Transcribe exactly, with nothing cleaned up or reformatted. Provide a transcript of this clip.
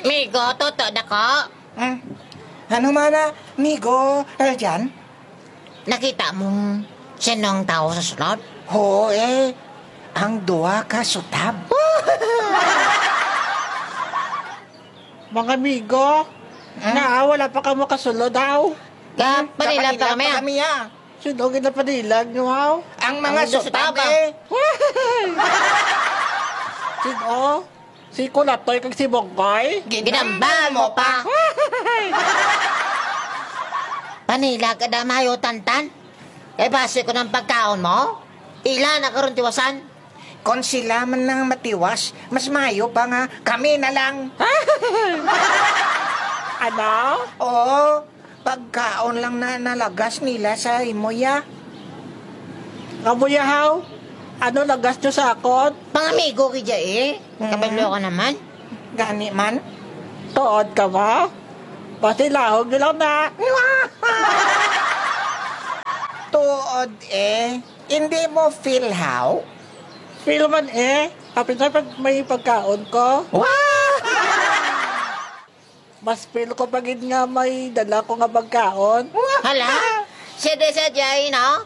Migo, tuto dako. Hmm. Ano man na, migo, Aljan? Nakita mo sinong tao sa sulod? Oo, eh. Ang duha ka sutab. Mga amigo, Hmm? Nga, wala pa kamo kasulod, aw. Ka-, Panila pa kami, ah. Kami, ah. Sino ginapanilag nyo, aw? Ang mga Ang sutab, sutab, ah. Eh. Sino? Si Kulatoy kag si Bonggoy? Ginambal mo pa. Panila ka da mayo, Tantan. Kay basi ko ng pagkaon mo. Ila na karon tiwasan. Kung sila man nang matiwas, mas mayo pa nga kami na lang. Ano? Oo, pagkaon lang na nalagas nila sa imo, ya. Amo, ya, haw? Ano lagas nyo sa akon? Pangamigo ka dya, eh. Mm. Kabalo ka naman. Gani man. Tuod ka ba? Pasilahog nyo lang na. Tuod, eh. Hindi mo feel how? Feel man, eh. Apin sa pag may pagkaon ko. Wow! Mas feel ko pa gid nga may dala ko nga pagkaon. Hala, siya di sa Jay, no?